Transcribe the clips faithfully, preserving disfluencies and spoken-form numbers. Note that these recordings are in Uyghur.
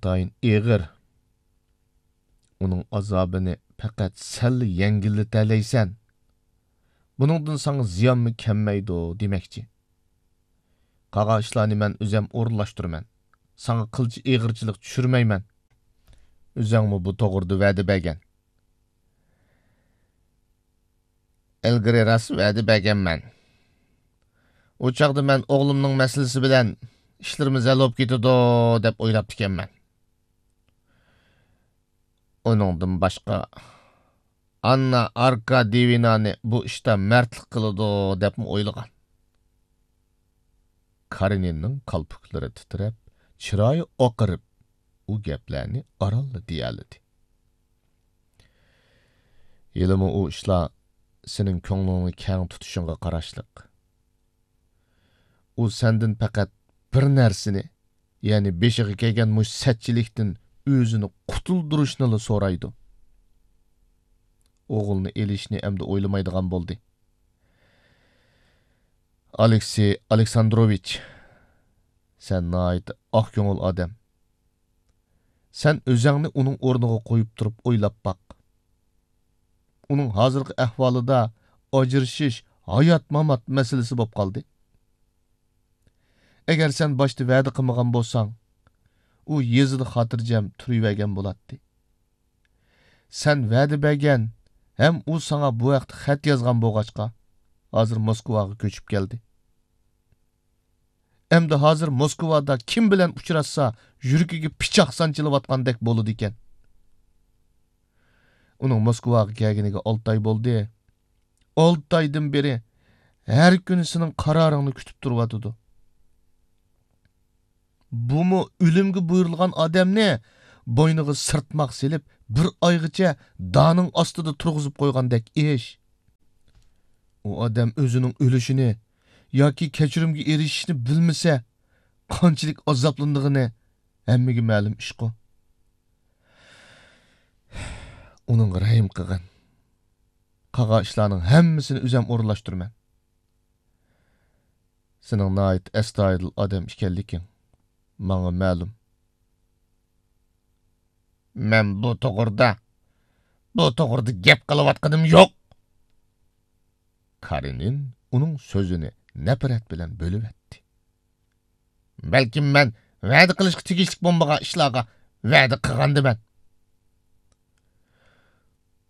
ئىنتايىن ئېغىر. ئۇنىڭ ئازابىنى پەقەت سەنلا يەڭگىللىتەلەيسەن. بۇنىڭدىن ساڭا زىيانمۇ كەلمەيدۇ دېمەكچى. قالغان ئىشلارنى مەن ئۆزەم ئورۇنلاشتۇرىمەن. ساڭا قىلچە ئېغىرچىلىق چۈشۈرمەيمەن. ئۆزەڭمۇ بۇ توغرىدا ۋەدە بەرگەن. ئىلگىرى راست ۋەدە بەرگەنمەن. ئۇ چاغدا مەن ئوغلۇمنىڭ مەسىلىسى بىلەن ئىشلىرىمىز ھەل بولۇپ كېتىدۇ دەپ ئويلاپتىكەنمەن. ئۇنىڭدىن باشقا، ئاننا ئاركادىيېۋنانى بۇ ئىشتا مەردلىك قىلىدۇ دەپمۇ ئويلىغان. كارېنىننىڭ كالپۇكلىرى تىترەپ، چىرايى ئاقىرىپ، ئۇ گەپلەرنى ئارانلا دېيەلىدى. ھېلىمۇ ئۇ ئىشلار سېنىڭ كۆڭلۈڭنى كەڭ تۇتۇشۇڭغا قاراشلىق. ئۇ سەندىن پەقەت بىر نەرسىنى، يەنى بېشىغا كەلگەن مۇشۇ سەتچىلىكتىن ئۆزىنى قۇتۇلدۇرۇشنىلا سورايدۇ. ئوغلىنى ئېلىشنى ئەمدى ئويلىمايدىغان بولدى. ئالېكسېي ئالېكساندروۋىچ، سەن ناھايىتى ئاق كۆڭۈل ئادەم. سەن ئۆزەڭنى ئۇنىڭ ئورنىغا قويۇپ تۇرۇپ ئويلاپ باق. ئۇنىڭ ھازىرقى ئەھۋالىدا ئاجرىشىش ھايات-مامات مەسىلىسى بولۇپ قالدى. ئەگەر سەن باشتا ۋەدە قىلمىغان بولساڭ، ئۇ يېزىدا خاتىرجەم تۇرۇۋەرگەن بولاتتى. سەن ۋەدە بەرگەن ھەم ئۇ ساڭا بۇ ھەقتە خەت يازغان بولغاچقا، ھازىر موسكۋاغا كۆچۈپ كەلدى. ئەمدى ھازىر موسكۋادا كىم بىلەن ئۇچراشسا، يۈرىكىگە پىچاق سانچىلىۋاتقاندەك بولىدىكەن. ئۇنىڭ موسكۋاغا كەلگىنىگە ئالتە ئاي بولدى. ئالتە ئايدىن بېرى ھەر كۈنى سېنىڭ قارارىڭنى كۈتۈپ تۇرۇۋاتىدۇ. بۇمۇ ئۆلۈمگە بۇيرۇلغان ئادەمنى بوينىغا سىرتماق سېلىپ، بىر ئايغىچە دانىڭ ئاستىدا تۇرغۇزۇپ قويغاندەك ئىش. ئۇ ئادەم ئۆزىنىڭ ئۆلۈشىنى ياكى كەچۈرۈمگە ئېرىشىشنى بىلمىسە، قانچىلىك ئازابلىنىدىغىنى ھەممىگە مەلۇم ئىشقۇ. ئۇنىڭغا رەھىم قىلغىن. قالغان ئىشلارنىڭ ھەممىسىنى ئۆزەم ئورۇنلاشتۇرىمەن. سېنىڭ ناھايىتى ئەستايىدىل ئادەم ئىكەنلىكىڭ ماڭا مەلۇم. مەن بۇ توغرىدا، بۇ توغرىدا گەپ قىلىۋاتقىنىم يوق. كارېنىن ئۇنىڭ سۆزىنى نەپرەت بىلەن بۆلۈۋەتتى. بەلكىم مەن ۋەدە قىلىشقا تېگىشلىك بولمىغان ئىشلارغا ۋەدە قىلغاندىمەن.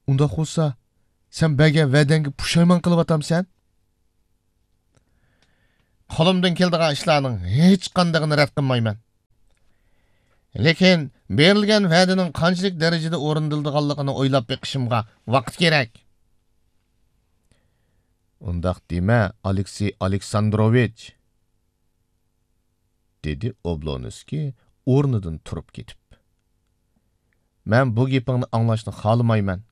ئۇنداق بولسا، سەن بەرگەن ۋەدەڭگە پۇشايمان قىلىۋاتامسەن؟ قولۇمدىن كېلىدىغان ئىشلارنىڭ ھېچقاندىقىنى رەت قىلمايمەن. لېكىن بېرىلگەن ۋەدىنىڭ قانچىلىك دەرىجىدە ئورۇندىلىدىغانلىقىنى ئويلاپ بېقىشىمغا ۋاقىت كېرەك. ئۇنداق دېمە، ئالېكسېي ئالېكساندروۋىچ، دېدى ئوبلونسكىي ئورنىدىن تۇرۇپ كېتىپ. مەن بۇ گېپىڭنى ئاڭلاشنى خالىمايمەن.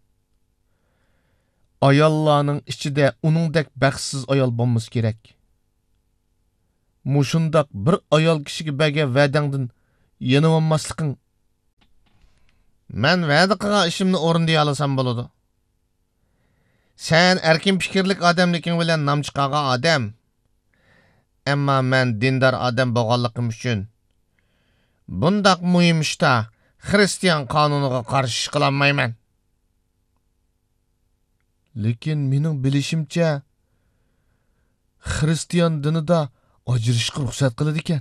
ئاياللارنىڭ ئىچىدە ئۇنىڭدەك بەختسىز ئايال بولمىسا كېرەك. مۇشۇنداق بىر ئايال كىشىگە بەرگەن ۋەدەڭدىن يېنىۋالماسلىقىڭ. مەن ۋەدە قىلغان ئىشىمنى ئورۇندىيالىسام بولىدۇ. سەن ئەركىن پىكىرلىك ئادەملىكىڭ بىلەن نام چىقارغان ئادەم. ئەمما مەن دىندار ئادەم بولغانلىقىم ئۈچۈن، بۇنداق مۇھىم ئىشتا خىرىستىيان قانۇنىغا قارشى ئىش قىلالمايمەن. لېكىن مېنىڭ بىلىشىمچە، خىرىستىيان دىنىدا ئاجرىشىشقا رۇخسەت قىلىدىكەن.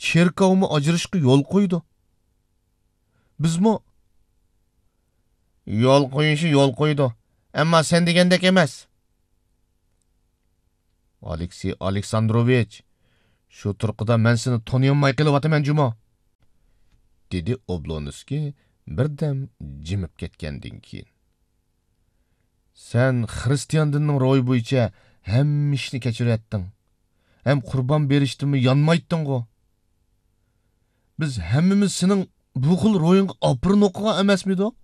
چېركاۋمۇ ئاجرىشىشقا يول قويىدۇ. بىزمۇ يول قويۇشى يول قويىدۇ، ئەمما سەن دېگەندەك ئەمەس. ئالېكسېي ئالېكساندروۋىچ، شۇ تۇرقىدا مەن سېنى تونۇيالماي قېلىۋاتىمەن جۇمۇ، دېدى ئوبلونسكىي بىردەم جىمىپ كەتكەندىن كېيىن. سەن خىرىستىيان دىنىنىڭ روھى بويىچە ھەممە ئىشنى كەچۈرەتتىڭ ھەم قۇربان بېرىشتىنمۇ يانمايتتىڭغۇ؟ بىز ھەممىمىز سېنىڭ بۇ خىل روھىڭغا ئاپىرىن ئوقۇغان ئەمەسمىدۇق؟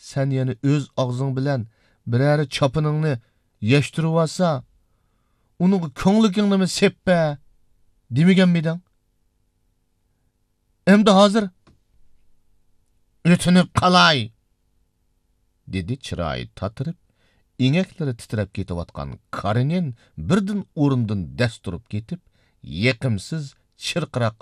سەن يەنە ئۆز ئاغزىڭ بىلەن بىرەرى چاپىنىڭنى يەشتۈرۈۋالسا، ئۇنىڭغا كۆڭلىكىڭنىمۇ سېپىپ بەر دېمىگەنمىدىڭ؟ ئەمدى ھازىر ئۆتۈنۈپ قالاي، دېدى چىرايى تاتىرىپ، ئېڭەكلىرى تىترەپ كېتىۋاتقان كارېنىن بىردىن ئورنىدىن دەس تۇرۇپ كېتىپ، يېقىمسىز چىرقىراق